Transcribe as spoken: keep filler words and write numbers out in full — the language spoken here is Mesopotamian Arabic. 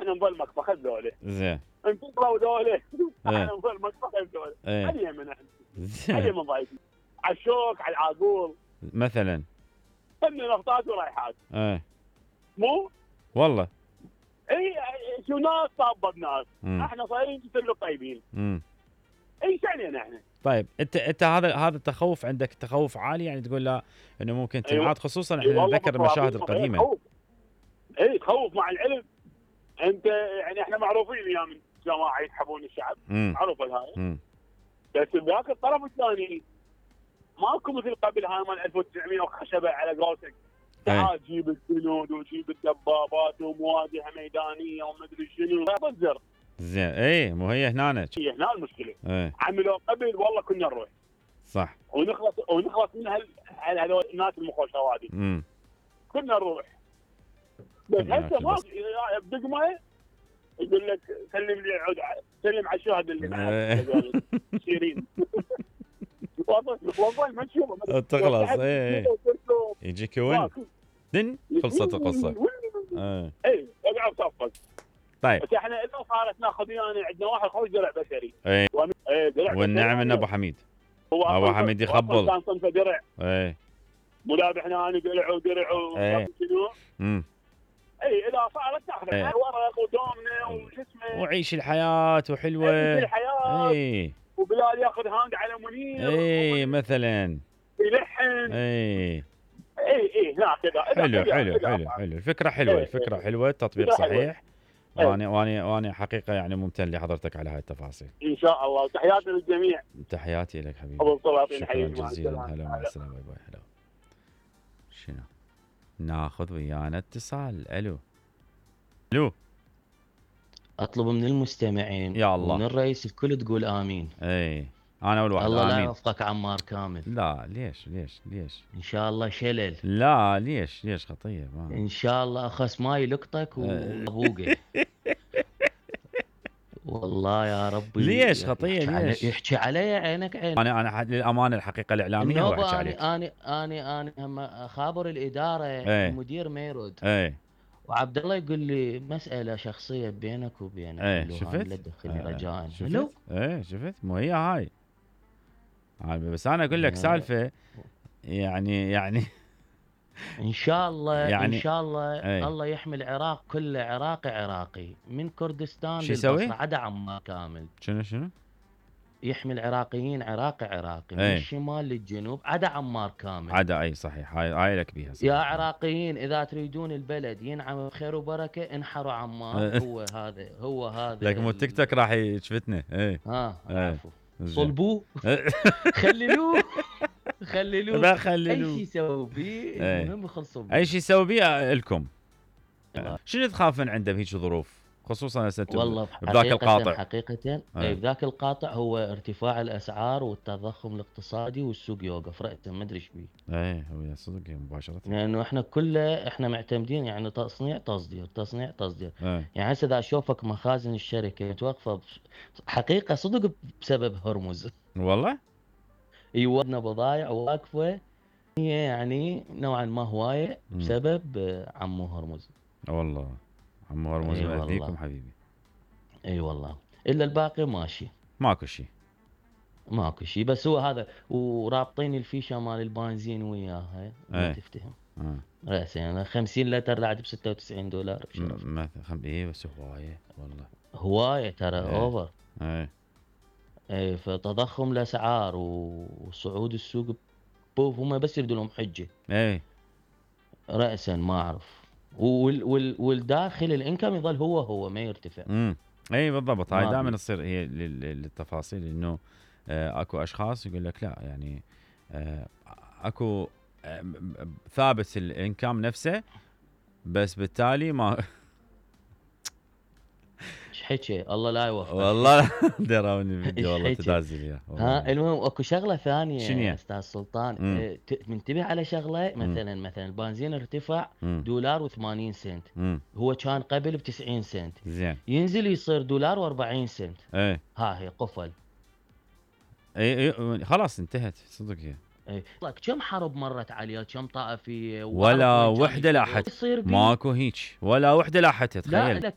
احنا نظل مكفخه ذولا زين انفصلوا ذولا احنا نظل مكفخه ذولا ايه علي من احنا علي زين من ضايقين على الشوك على العاقول مثلا كنا نغطات ورايحات ايه مو والله اي شو ناس طابه بناس مم. احنا صايرين نسلوا طيبين امم اي شعنينا احنا طيب انت انت هذا هذا التخوف عندك تخوف عالي يعني تقول لا انه ممكن تنعاد خصوصا أي احنا والله نتذكر المشاهد القديمه تخوف اي تخوف مع العلم انت يعني احنا معروفين ايام جماعه يسحبون الشعب امم معروفه هاي امم بس بذاك الطرف الثاني ماكو مثل قبل هاي مال ألف وتسعمية وخشبه على قولتك تعال جيب الجنود وجيب الدبابات ومواجهه ميدانيه ومدري شنو لا تزر زين ايه مو هي هنا هي هنا المشكله ايه عملوا قبل والله كنا نروح صح ونخلص ونخلص من هال هذول الناس المخوشه هذه امم كنا نروح بس هسه ما بدقمه يقول لك سلم لي عود سلم على الشهد اللي معك شيرين والله ما تشوفه تخلص ايه يجيك وين دن خلصت القصه ايه ايه اقعد صفق طيب بس احنا اذا صارت ناخذ يعني عندنا واحد خوي درع بشري ايه ايه درع والنعم ان ابو حميد هو ابو حميد يخبل كان صنفه درع ايه ملابح هنا انا درع ودرع وشنو امم اي اذا صارت تاخذ ايه. ورق ودومنه وش اسمه وعيش الحياه وحلوه عيش الحياه ايه وبلال ياخذ هاند على منير ايه مثلا يلحن ايه اي اي لا كذا حلو حلو حلو حلو الفكره حلوه الفكره حلوه التطبيق صحيح وانا وانا وانا حقيقه يعني ممتن لحضرتك على هاي التفاصيل ان شاء الله وتحياتي للجميع تحياتي لك حبيبي ابو السلاطين شكرا حبيبي جزيلا هلا مع السلامه باي باي هلا شنو ناخذ ويانا اتصال الو الو اطلب من المستمعين يا الله ومن الرئيس الكل تقول امين. اي انا اول واحد الله امين. لا يوفقك عمار كامل. لا ليش ليش ليش ان شاء الله شلل. لا ليش ليش خطيه ما. ان شاء الله اخس ما يلقطك وابوقه. والله يا ربي ليش خطيه ليش يحكي علي عينك عين. انا انا للامانه الحقيقه الاعلاميه هو احكي عليك. انا انا انا هم اخابر الاداره ايه. المدير ما يرد. ايه وعبد الله يقول لي مساله شخصيه بينك وبينه. ايه شفت؟ لا تدخلني آه رجاء. شفت؟ ايه شفت مو هي هاي. بس انا اقول لك سالفه يعني يعني ان شاء الله يعني ان شاء الله ايه. الله يحمي العراق كله عراقي عراقي من كردستان للبصره عدا عمان كامل. شنو شنو؟ يحمي العراقيين عراقي عراقي ايه. من الشمال للجنوب عدا عمار كامل. عدا اي صحيح هاي هاي لك بيها صحيح. يا عراقيين اذا تريدون البلد ينعم بخير وبركه انحروا عمان. هو هذا هو هذا لك مو التيك توك راح يشفتنا ايه ها ايه. صلبوه خللوه خللوه لا خللوه اي شيء يسوي بيه المهم يخلصوا بيه. اي شيء يسوي بيه لكم. شنو تخافون عنده بهيك ظروف خصوصا هسه والله بذاك القاطع حقيقه اي بذاك القاطع هو ارتفاع الاسعار والتضخم الاقتصادي والسوق يوقف رأسا ما ادري ايش بيه. ايه هو صدق مباشره لانه احنا كله احنا معتمدين يعني تصنيع تصدير تصنيع تصدير. ايه. يعني هسه اذا اشوفك مخازن الشركه متوقفه حقيقه صدق بسبب هرمز. والله يودنا بضايع واقفه هي يعني نوعا ما هوايه بسبب عمو هرمز. والله عمو هرمز أي يهديكم حبيبي. اي والله الا الباقي ماشي ماكو شيء ماكو شيء بس هو هذا ورابطين الفيشه مال البنزين وياها ما تفتهم. اه راسا يعني خمسين لتر رعد ب ستة وتسعين دولار بشرف. ما خم ايه بس هوايه والله هوايه ترى ايه. اوفر ايه ايه فتضخم الاسعار وصعود السوق بوف هم بس يريدوا لهم حجه ايه راسا ما اعرف وال وال والداخل الانكم يظل هو هو ما يرتفع. امم اي بالضبط هاي دائما تصير هي للتفاصيل انه آه اكو اشخاص يقول لك لا يعني آه اكو آه ثابت الانكم نفسه بس بالتالي ما ايش حكي الله لا يوفقك والله دراوني الفيديو والله تدازل يا ها. المهم اكو شغله ثانيه شنية؟ استاذ سلطان اه منتبه على شغله مثلا مم. مثلا البنزين ارتفع مم. دولار و80 سنت. مم. هو كان قبل ب تسعين سنت زين ينزل يصير دولار و40 سنت. ايه ها هي قفل. اي اي خلاص انتهت صدق هي. اي كم حرب مرت عليه كم طائفيه ولا وحده لاحت ماكو هيك ولا وحده لاحت تخيل. لا لا